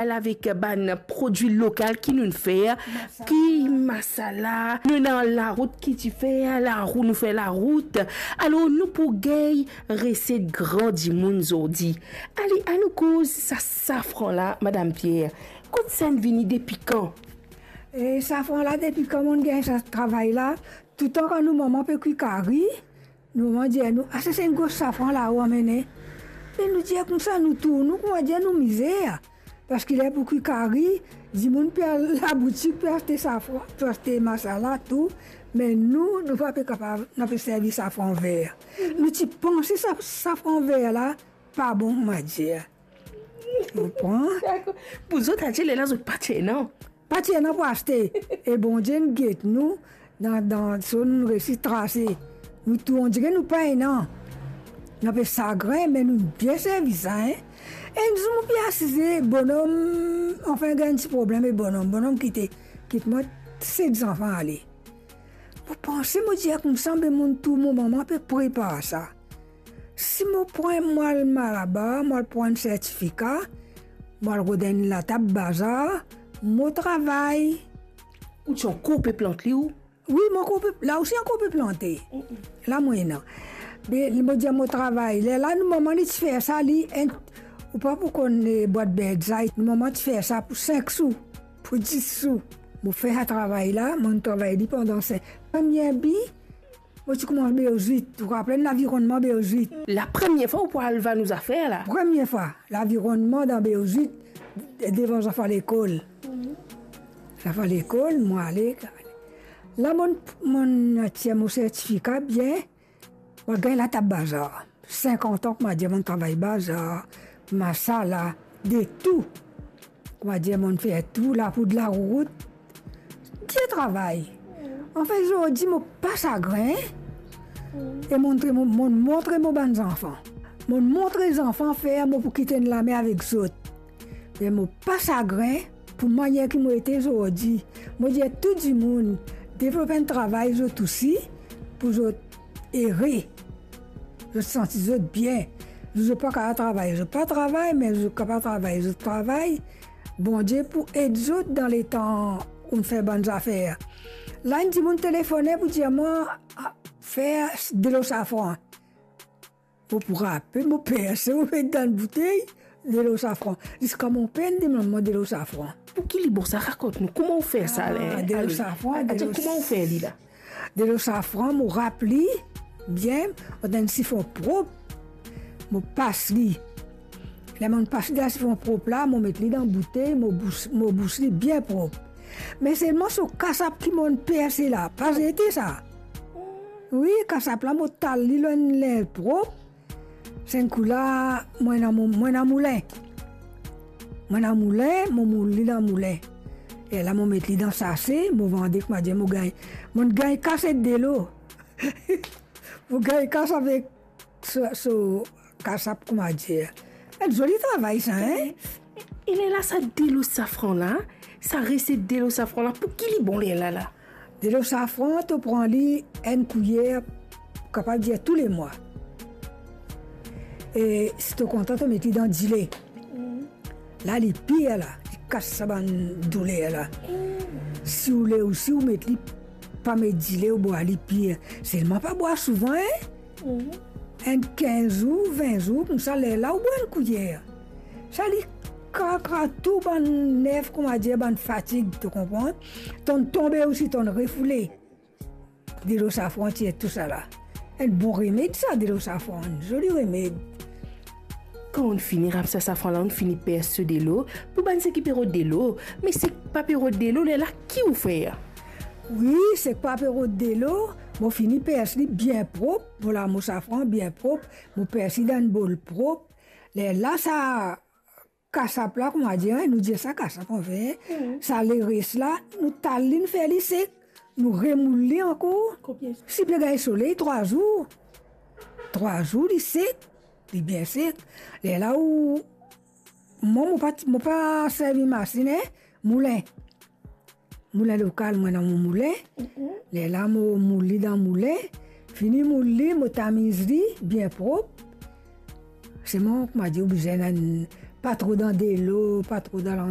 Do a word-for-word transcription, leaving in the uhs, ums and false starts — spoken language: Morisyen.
Al avek bann prodwi lokal ki nou fer, ki masala, nou ena larout ki ti fer, larou, nou fer larout. Alor, nou pou gagn reset gran dimoun zordi. Ale, anou koz sa safran la, Madam Pierre. Kot sa inn vini, depi kan? E safran la, depi kan mo'nn gagn sa travay la, toutan kan nou manman pe kwi kari, nou manman dir nou, "Ase, se enn gro safran la ou amene." Me nou dir koumsa, nou tourn, nou kouma dir nou mizer. Parski ler pou kwi kari, dimoun pe al laboutik, pe aste safran, pe aste masala, tou. Me nou, nou pa pe kapav, nou pe servi safran ver. Nou ti panse sa, safran ver la pa bon, kouma dir. Ou konpran? Dakor. Pou zot, adir lerla zot pa ti ena. Pa ti ena pou aste. E Bondie inn get nou, dan, dan so nou resi trase. Nou tou, ondire nou pa ena. Nou pe sagrin, me nou bien servi sa, hein. Enn zour mo pe asize, bonom, anfin, gagn ti problem ek bonom. Bonom kite, kit mwa, set zanfan ale. Mo panse, mo dir koumsa, be mo tou, mo manman pe prepar sa. Si mo pran, mo al Malabar, mo al pran enn sertifika, mo al rod enn latab bazar, mo travay. Ou ti ankor pe plant li ou? Wi, mo ankor pe, la osi ankor pe plante. Mm-mm. La mo ena. Be, mo dir mo travay. Lerla nou manman li ti fer sa, li enn, ou pa pou konn, eh, bwat Birdseye, nou manman ti fer sa pou sink sou, pou dis sou. Mo fer sa travay la, mo'nn travay li pandan sink. Premie bi, mo ti koumans Beozit, ou rapel lavironnman Beozit? La premie fwa ou pou al vann ou zafer la? Premie fwa, lavironnman dan Beozit, de-, devan zanfan lekol. Mhm. Zanfan lekol, mo ale. La mo'nn, mo'nn tir mo sertifika bien, mo gagn latab bazar. Sinkant an, kouma dir, mo'nn travay bazar, masala, de tou. Kouma dir, mo'nn fer tou, lapoud larout, dir travay. Anfin, zordi mo pa sagrin, e montre mo, mo montre mo bann zanfan. Mo montre zanfan fer mo pou kit enn lame avek zot. Me mo pa sagrin pou manier ki mo ete zordi. Mo dir tou dimoun, devlop enn travay zot osi, pou zot ere. Zot santi zot bien. Zot pa kapav travay, zot pa travay, me zot kapav travay, zot travay. Bondie pou ed zot dan letan ou'nn fer bann zafer. La, enn dimoun telefone pou dir mwa, a, fer delo safran. Mo pou rape, mo perse, mo met dan boutey, delo safran. Ziska mo per demann mwa delo safran. Pou ki li bon sa, rakont nou, kouma ou fer sa? Ah, ale, delo ale. Safran, atann, delo kouma ou fer li la? Delo safran, mo rap li bien, mo dan enn sifon prop, mo pas li. Ler mo'nn pas li dan sifon prop la, mo met li dan boutey, mo bous, mo bous li bien prop. Me selman so kasap ki mo'nn perse la, pa zete sa. Wi, kasap la, mo tal li lor enn linz prop. Sennkoula, mo ena mo, mo ena moulin. Mo ena moulin, mo moul li dan moulin. E la, mo met li dan sase, mo vande, kouma dir, mo gagn, mo'nn gagn kas ek delo. Mo gagn kas avek so, so kasap, kouma dir. Enn zoli travay sa, hein? E, e lerla sa delo safran la, sa reset delo safran la, pou ki li bon lerla la? Delo safran, to pran li enn kouyer, kapav dir toulemwa. E si to kontan, to met li dan dile. La, li pir la, li kas sa bann douler la. Si ou le osi, ou met li, pa met dile, ou bwar li pir. Selman pa bwar souvan, hein? Enn kinz zour, vin zour, koumsa, lerla ou bwar enn kouyer. Sa li krakra tou bann nerv, kouma dir, bann fatig, to konpran? To'nn tonbe osi, to'nn refoule. Delo safran tir tousala. Enn bon remed sa, delo safran, enn zoli remed. Kan ou'nn fini rap sa safran la, ou'nn fini pers so delo, pou bann seki pe rod delo, me seki pa pe rod delo, lerla ki ou fer? Wi, seki pa pe rod delo, mo fini pers li bien prop, mo lav mo safran bien prop, mo pers li dan enn bol prop. Lerla sa kasap la, kouma dir, hein, nou dir sa kasap, anfin, sa leres la, nou tal li, nou fer li sek, nou remoul li ankor. Konbien zour? Si pe gagn soley, trwa zour. Trwa zour, li sek, li bien sek. Lerla ou, mwa, mo pa, mo pa servi masinn, hein, moulin. Moulin lokal, mo ena mo moulin. Mhm. Lerla mo moul li dan moulin. Fini moul li, mo tamiz li bien prop. Selman, kouma dir, ou bizin enn Pa tro dan delo, pa tro dan